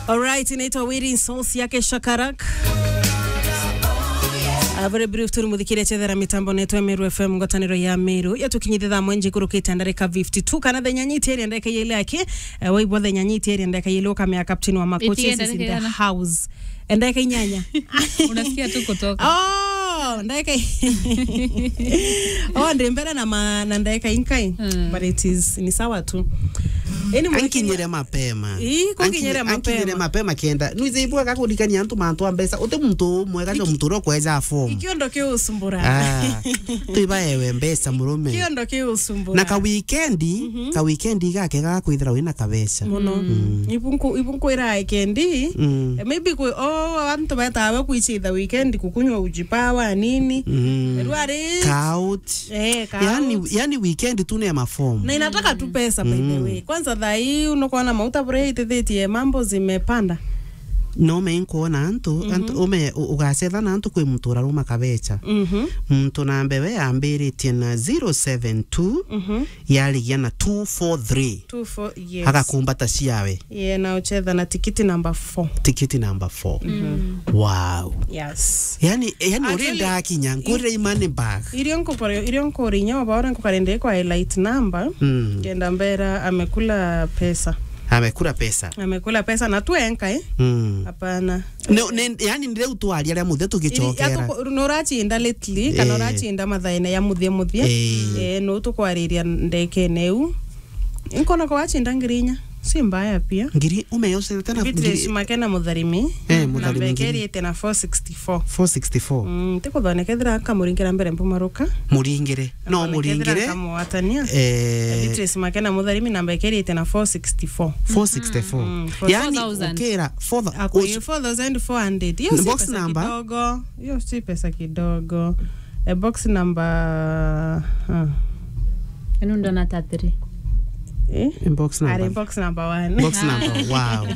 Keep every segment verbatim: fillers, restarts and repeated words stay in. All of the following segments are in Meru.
Alright, inaitwa Waiting Souls yake Shakarak. A very brief tu, muthikiria chethera mitambo netu ya Meru F M, ngwataniro ya Meru. Ya tukinyithia thaa mwenje kurukite ndarika fifty-two, kana thenya nyiti eri ndarika ile yake, eh, waibwa thenya nyiti eri ndarika ile ukamea captain wa makochi is in the house. Ndarika inyanya. Unasikia tu kutoka. Oh, ndarika i-, oh, ndi mbere na ma-, na ndarika inkai. Mm. But it is, ni sawa tu. Ankinyire mapema. Ii, kunkinyire mapema. Ankinyire mapema kenda. Nuize ibwa gakurikania antu mantu a mbeca. Uti muntu umwe gajo muntu ro kweja form. Ikiondo kiusumbura. Ah. Tuiba ewe mbeca murume. Ikiondo kiusumbura. Na ka weekend, ka weekend gake gakwithira wina kabeca. Muno. Mm. Ibunku, ibunku ira weekend. Mm. Eh, maybe kwi, oh, antu betawe kuichitha weekend kukunywa uji power nini. Mm. Rwari. Ka out. Eh, ka yani, out. Yani weekend tu ni ya mafomu. Na inataka tu pesa, by the way. Kwanza thaa hii unakuona mauta bure itethetie mambo zimepanda. No me nkuona antu, antu ume u-, ugacetha na antu kwi muntu uraruma kabecha. Mhm. Muntu nambe we ambiritie na zero seven two, yarigia na two four three. Two four, yes. Agakumbata ciawe. Yeah, na uchetha na tikiti number four. Tikiti number four. Mm. Wow. Yes. Yani, yani actually, urenda akinya, ngurire i money bag. Irio nkukore, irio nkurinya, obaora nkukarende kwa highlight number. Mm. Kenda mbera amekula pesa. Amekula pesa. Amekula pesa na tu enka, eh? Mm. Hapana. No, ne, yani, ni riu twaria ria muthe tugichokera. Nurachinda lately, kana urachinda mathaine ya muthia muthia. Eh. Eh, no tukwariria ndekene u. Nkona kwa wachinda ngiri inya. Si mbaya pia. Ngiri, umeyoserete na Beatrice ngiri Makena Mutharimi. Eh, Mutharimi namba ngiri. Ekeriete na four sixty-four. Four sixty-four. Mm, tikuthonekethira akamuringera mbere mpumaruka. Muringire. No, muringire. Kamwatania. Eh. Beatrice Makena Mutharimi namba ekeriete na four sixty-four. Four sixty-four. Mm, yani, four thousand. Ukira, four thou-, akwi four thousand four hundred. Hiyo si pesa kidogo. Hiyo si pesa kidogo. Eh, box number, ah. Enu ndona ta three. Eh? Box number. Ari box number one. Box number, wow.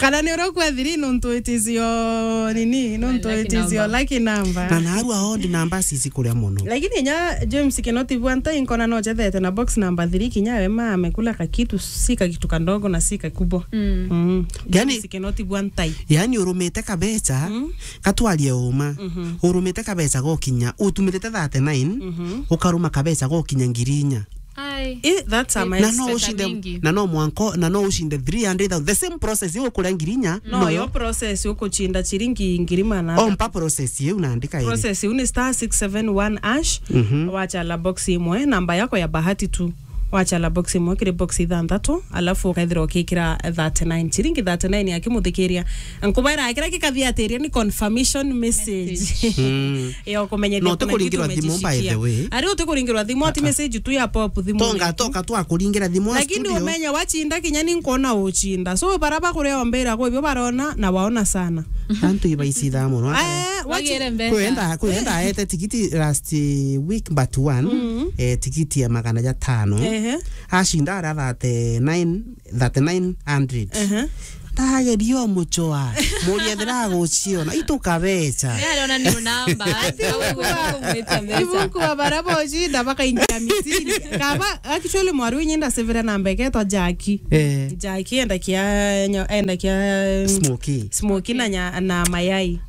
Kana ni uria kwa three, nontu it is your, nini, nontu it is your lucky number. Na narua odd number sisi kuria muno. Lakini nya James Kinoti Bwanta inkona no jethete na box number three, kinya we ma amekula kakitu, si kakitu kadogo na si kakubwa. Mm. Mm. Yani, James Kinoti Bwanta. Yani urumite kabecha, mm, katwarie uma. Mhm. Urumite kabecha gokinya, utumirite thirty-nine, mhm, ukaruma kabecha gokinya ngiri inya. Ai. Eh, that's a, na no ushinde, na no mwanko, na no ushinde three hundred thousand. The same process yo kuria ngiri inya, no, yo process ukuchinda chiringi ngiri mana. Ompa process yeu na andika iri. Process yeu ni star six seven one hash, mhm, wachala box imwe, namba yako ya bahati tu. Wachala box imwe kiri box ithanthatu, alafu ukaithira ukikira thirty-nine. Chiringi thirty-nine akimuthikiria. Nkubaira kira kikathiatiria ni confirmation message. Message. Mm. Yo kumenyethia no, kumenyethia tikuringirwa thimu, by the way. Ari utikuringirwa thimu, ati message tu ya pop thimu. Tonga toka twa kuringira thimu. Lakini studio. Umenye wachinda kinya ni nkuona uchinda. So, bara bakuria ombira kwa ibyo barona na waona sana. Antu ibaicitha muno. Eh, wagire mbeca. Kwenda, kwenda ete tikiti last week but one, mm, eh, tikiti ya magana jatano. Ehe. Ashinda ara thirty-nine, thirty-nine hundred. Ehe. Ndageria umuchoa. Muriethera aguciona. Itukabecha. Yari ona ni namba. Ati kumwita mbeca. Ibu kuba bara bocinda bakaingira mitini. Kaba, actually, mwaru inyinda severa namba iketwa Jackie. Eh. Jackie enda kia, enda kia, mm, Smoky. Smoky na nya-, na mayai.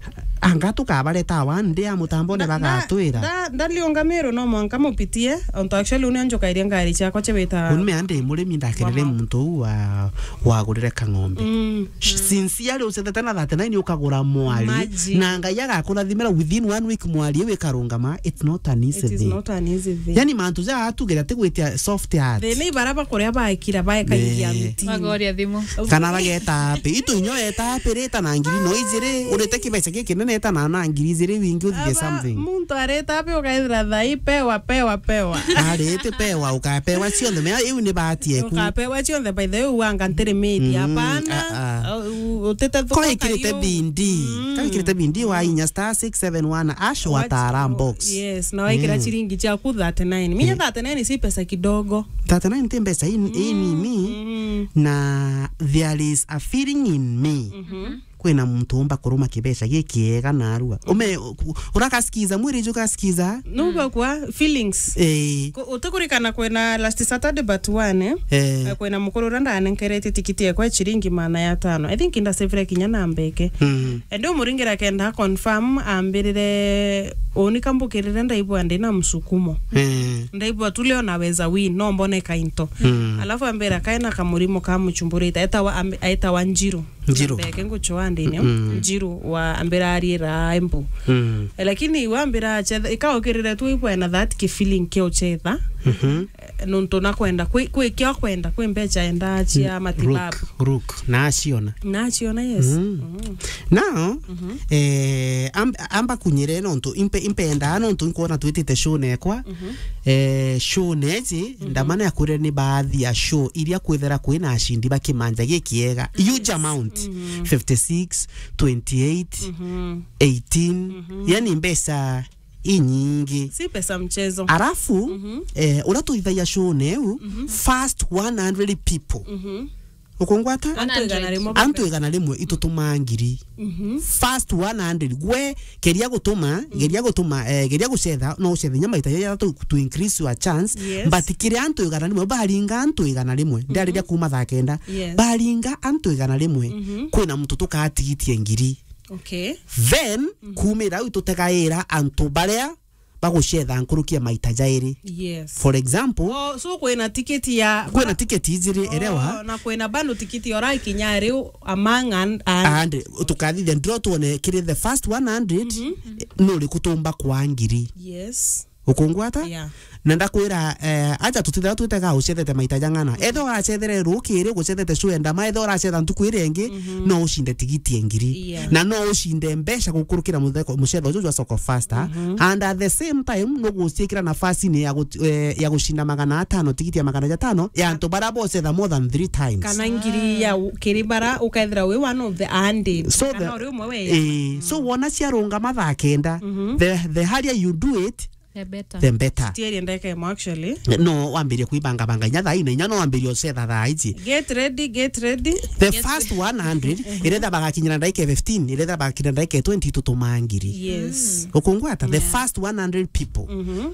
Anga tukabareta one day a mutambone bagatwira. Nda-, nda-, ndaliunga Meru no mwanka mupitie, onto actually une njukairie ngari ciakwa cibita. Unume andi murimi ndakerere muntu uu wa, wagurire kang'ombe. Mm. Sincerely ucethete na thirty-nine ukagura mwari. Imagine. Na Ngai agakurathimira within one week mwari iu ikarungama, it's not an easy thing. It is not an easy thing. Yani mantu ja atugira tigwitia soft heart. Thina ibara bakuria bakira baekaingia miti. Bagoria thimu. Kana bageta api. Itu inyo eta api rita na ngiri no ijiri. Urite kibeca gikinene eta na, na ngiri ijiri wingi uthithie something. Muntu arita api ukaithira thai pewa, pewa, pewa. Arite pewa, ukapewa cionthe. Mea iu ni bahati eku. Ukapewa cionthe, by the way, uanga ntiri miti. Mm, hapana. Ah, ah. U-, u-, utite thuka. Kwa ikirite bindi. Mm. Kwa ikirite bindi wa inya star six seven one hash watara box. Yes, na waikira chiringi ciaku thirty-nine. Minya thirty-nine si pesa kidogo. Thirty-nine ti mbeca in-, inini, mm, na there is a feeling in me. Mhm. kwina muntu umba kuruma kibeca gikiega narua. Ume, u-, urakasikiza, mwiri ju kasikiza. Nuga kwa feelings. Eh. Ku-, utikurikana kwina last Saturday but one, eh? Eh. Eh, kwina mukuru uria ndanenkeretie tikiti ekwa ya ciringi magana ya tano. I think ndasevire kinya na mbeke. Mm. Ende umuringira kenda confirm ambirire uni kambukirire ndaigua ndina msukumo. Eh. Ndaigua tu leo naweza win, no mbone kainto. Mm. Alafu ambira kaena kamurimo ka muchumburite, etawa, ambi-, etawa Njiru. Njiru. Mbeke nguchwa ndini. Mm. Njiru wa ambira ariira Embu. Mm. Eh, lakini wa ambira achetha, ikaukirire tu ibwena that ki feeling kia uchetha. Mhm. Eh, nontu nakwenda kwi, kwi kia kwenda, kwi mbecha enda chia matibabu. Rook, rook, na aciona. Na aciona, yes. Mm. Mm. Now, eh, am-, amba kunyire nontu impe-, impenda nontu nkwona twitite show nekwa. Mhm. Eh, show neji, ndamana ya kuria ni baadhi ya show iria kwithira kwina ashindi ba kimanja gikiega. Huge amount. Mhm. Fifty-six, twenty-eight, mhm, eighteen. Mhm. Yani mbeca inyingi. Si pesa mchezo. Arafu, mhm, eh, uria tuithagia show neu, mhm, first one hundred people. Mhm. Ukungwata? Antu igana rimwe. Antu igana rimwe itutumaa ngiri. Mhm. First one hundred. Gwe, keria gutuma, mhm, geria gutuma, eh, geria gucetha, no ucethe nya maita jathatu to increase your chance. Yes. But kiria antu igana rimwe, baringa antu igana rimwe. Mhm. Ndariria kuma thaa kenda. Yes. Baringa antu igana rimwe. Mhm. Kwina muntu tukaa tigitie ngiri. Okay. Then, mhm, kumira au tutegaira antu baria bagucetha nkuruki ya maita jairi. Yes. For example, oh, so kwina tiketi ya kwina tiketi ijiri, oh, erewa? Na kwina bando tiketi ora ikinya riu among and, and, and tukathithia ndiro tuone kiri the first one hundred, mhm, nuri kutumba kwa ngiri. Yes. Ukungwata? Yeah. Na ndakwira, eh, aja tutithira twitega ucethete maita jang'ana. Etho uracethere rukiri, gucethete show ya ndama, etho uracetha ntuku iria ingi, mhm, no ucinde tigiti ya ngiri. Yeah. Na no ucinde mbeca gukurukira mutheko-, mucetho uju jwa Soko Faster. Mhm. And at the same time, no guciikira nafasi-ini ya gut-, eh, ya gucinda magana atano, tigiti ya magana jatano, ya antu baria bocetha more than three times. Kana ngiri ya u-, kiri bara ukethira wi one of the hundred. So kana the, uri umwe we, eh, so wona ciarungama thaa kenda, mhm, the, the higher you do it, the better. The better. Tieri ndeke mo actually. No wambirie kuibangabanga inya thaa ine, inya no wambirie ucetha thaa iji. Get ready, get ready. The first one hundred, iretha bagakinyira ndaika fifteen, iretha bagakinyira ndaika twenty, tutuma ngiri. Yes. Ukungwata, the first one hundred people. Mhm.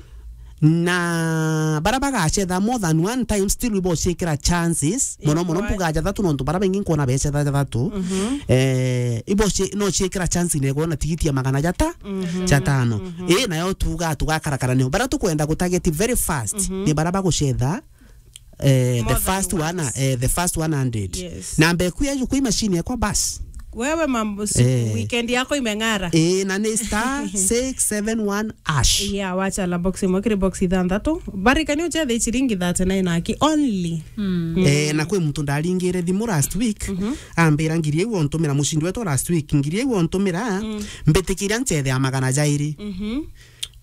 Na bara bagacetha more than one time, still ibocikira chances. Mono mono mbuga jathatu, nontu bara baingi nkwona becetha jathatu. Mhm. Eh, iboci-, no ciikira chance ine kwona tigiti ya magana jata-, mhm, jatano. Mhm. Ii, nayo tuga tugakarakara nio. Bara tukwenda gutarget very fast, mhm, ni bara bagucetha, eh, the first one, eh, the first one hundred. Yes. Na mbeku ya jukui machine yakwa bas. Wewe mambo si-, eh, weekend yako imeng'ara. Ii, na ni star six seven one hash. Yeah, wacha la box imwe kiri box ithanthatu. Barikani uchethe ciringi thirty-nine aki only. Mm. Eh, na kwi muntu ndaringire thimu last week, mhm, ambira ngiri iu ontumira, mucindi wetu last week, ngiri iu ontumira, mm, mbitikiria nchethe ya magana jairi. Mhm.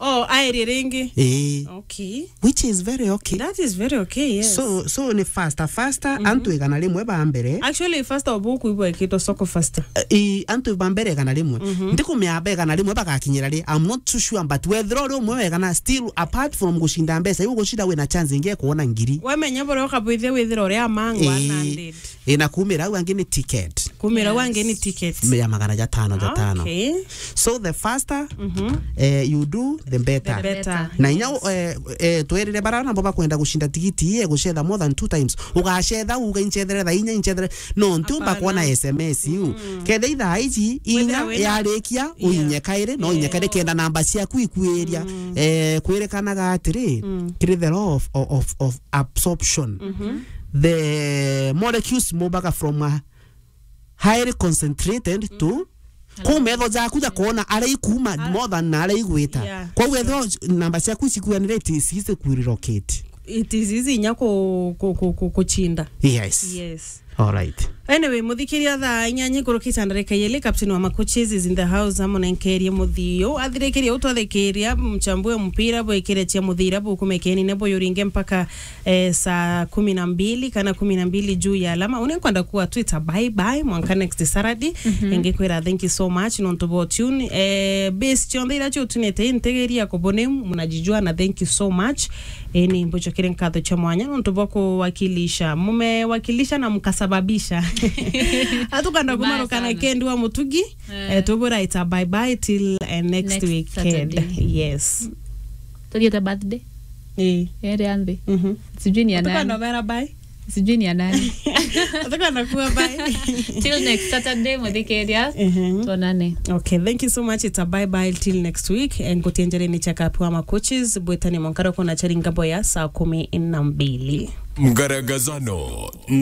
Oh, airi ringi. Eh. Okay. Which is very okay. That is very okay, yes. So, so ni faster, faster, mhm, antu igana rimwe ba mbere. Actually, faster obu kuibwa ikitwa Soko Faster. Eh, i, antu ba mbere igana rimwe. Mhm. Ndikumea ba igana rimwe bagakinyira ri, I'm not too sure, but wethira uri umwe wa igana, still, apart from gucinda mbeca, iu gucinda wina chance ingi ya kuona ngiri. Wamenya buria ukabwithia withira uria among, eh, one hundred. Ina kumira au angi ni ticket. Kumira au angi ni ticket. Ya magana jatano, jatano. Okay. So the faster, mhm, eh, you do, the better. The better. Na inya, yes, eh, eh, twerire bara nabo bakwenda gucinda tigiti ii, gucetha more than two times. Ugacetha, uga incethere thaa inya, incethere. No, ntiumba kuona S M S iu. Mm. Kethe ithaa iji, inya yarikia, uinye kairi, no uinye kairi kenda namba ciaku ikwiria. Mm. Eh, kwirikanaga atiri, mm, kiri the law of, of, of absorption. Mhm. The molecules movaga from a highly concentrated to, mm, kuu metho jaku jakuona aria ikuma, ah, more than na aria igwita. Yeah. Koguo ethirwa namba ciaku icikuanire, it is easy ku relocate. It is easy inya ku-, ku-, ku-, ku-, kuchinda. Yes. Yes. All right. Anyway, muthikiria, thaa inyanya ikuruki cha ndarika yeli, captain wa Makuchis is in the house, amunenkerie muthio. Athirikirie utwathikiria, mchambue mpira, bwikire chia muthira, bukumekeni ne buyuringe mpaka eh, saa kumi na mbili kana kumi na mbili juu ya alama. Une nkwenda kuwa Twitter, bye bye, mwanka next Saturday. Mhm. Ingikwira thank you so much, nontu bo tune. Eh, base cionthe iria ciutunite, integeria kubone, mnajijua na thank you so much. Eh, ni mbucokere nkatho cha mwanya, nontu bo kuwakilisha. Mumewakilisha na mkasababisha. Atukanda kumarukana sana. Kendi wa Mutugi. Eh. Eh, tubura ita bye bye till, eh, next Next weekend. Saturday. Yes. Tugiete birthday? Eh. Ere anthi. Mhm. Sijui ni ya nani. Atukanda bera bye. Sijui ni ya nani. Atukanda kuwa bye. Till next Saturday, muthikiria. Mhm. Tuonane. Okay, thank you so much. It's a bye bye till next week. And kutienjere ni check up wa macoaches. Bwetani mwankara kuna chari ngabo ya saa kumi na mbili. Mgaragazano.